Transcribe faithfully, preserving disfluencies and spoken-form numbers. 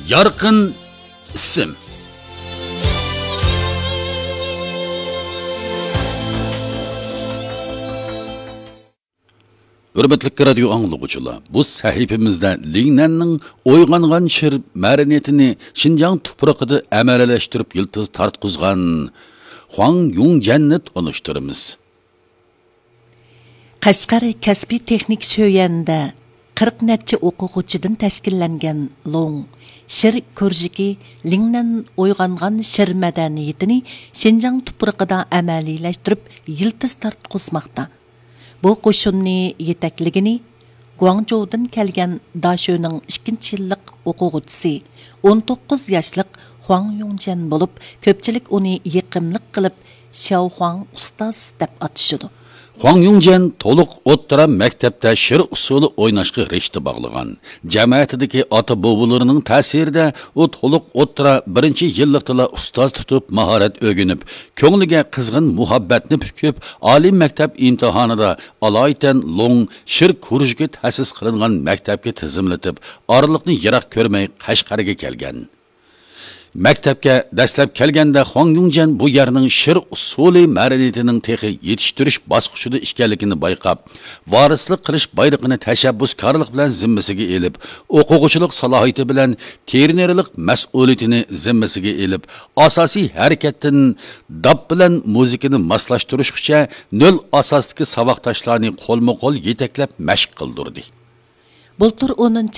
يارقىن ئىسىم. ھۆرمەتلىك رادىيو ئاڭلىغۇچىلار، بۇ سەھىپىمىزدە لىڭنەننىڭ ئويغانغان شىر مەدەنىيىتىنى شىنجاڭ تۇپرىقىدا ئەمەلىيلەشتۈرۈپ يىلتىز تارتقۇزغان خۇاڭ يۇڭجەننى تونۇشتۇرىمىز. قەشقەر كەسپىي تېخنىك شۆيەنىدە قىرىق نەچچە ئوقۇغۇچىدىن تەشكىللەنگەن لوڭ شىر كۇرژۇكى لىڭنەن ئويغانغان شىر مەدەنىيىتىنى شىنجاڭ تۇپرىقىدا ئەمەلىيلەشتۈرۈپ يىلتىز تارتقۇزماقتا. بۇ قوشۇننى يېتەكلىگىنى گۇاڭجۇدىن كەلگەن داشۆنىڭ ئىككىنچى يىللىق ئوقۇغۇچىسى، ئون توققۇز ياشلىق خۇاڭ يۇڭجيەن بولۇپ، كۆپچىلىك ئۇنى يېقىملىق قىلىپ شياۋخۇاڭ ئۇستاز دەپ ئاتىشىدۇ. خۇاڭ يۇڭجيەن تولۇق ئوتتۇرا مەكتەپتە شىر ئۇسسۇلى ئويناشقا رىشتە باغلىغان. جەمەتىدىكى ئاتا-بوۋىلىرىنىڭ تەسىرىدە ئۇ تولۇق ئوتتۇرا بىرىنچى يىللىقتىلا ئۇستاز تۇتۇپ ماھارەت ئۆگىنىپ، كۆڭلىگە قىزغىن مۇھەببەتنى پۈكۈپ، ئالىي مەكتەپ ئىمتىھانىدا ئالايىتەن لوڭ شىر كۇرژۇكى تەسىس قىلىنغان مەكتەپكە تىزىملىتىپ، ئارىلىقنى يىراق كۆرمەي قەشقەرگە كەلگەن. مەكتەپكە دەسلەپ كەلگەندە خۇاڭ يۇڭجيەن بۇ يەرنىڭ شىر ئۇسسۇلى مەدەنىيىتىنىڭ تېخى يېتىشتۈرۈش باسقۇچىدا ئىكەنلىكىنى بايقاپ، ۋارىسلىق قىلىش بايرىقىنى تەشەببۇسكارلىق بىلەن زىممىسىگە ئېلىپ، ئوقۇغۇچىلىق سالاھىيىتى بىلەن تېرېنېرلىق مەسئۇلىيىتىنى زىممىسىگە ئېلىپ، ئاساسىي ھەرىكەتتىن داپ بىلەن مۇزىكىنى ماسلاشتۇرۇشقىچە نۆل ئاساستىكى ساۋاقداشلارنى قولمۇ قول يېتەكلەپ مەشىق قىلدۇردى. بۇلتۇر ئونىنچى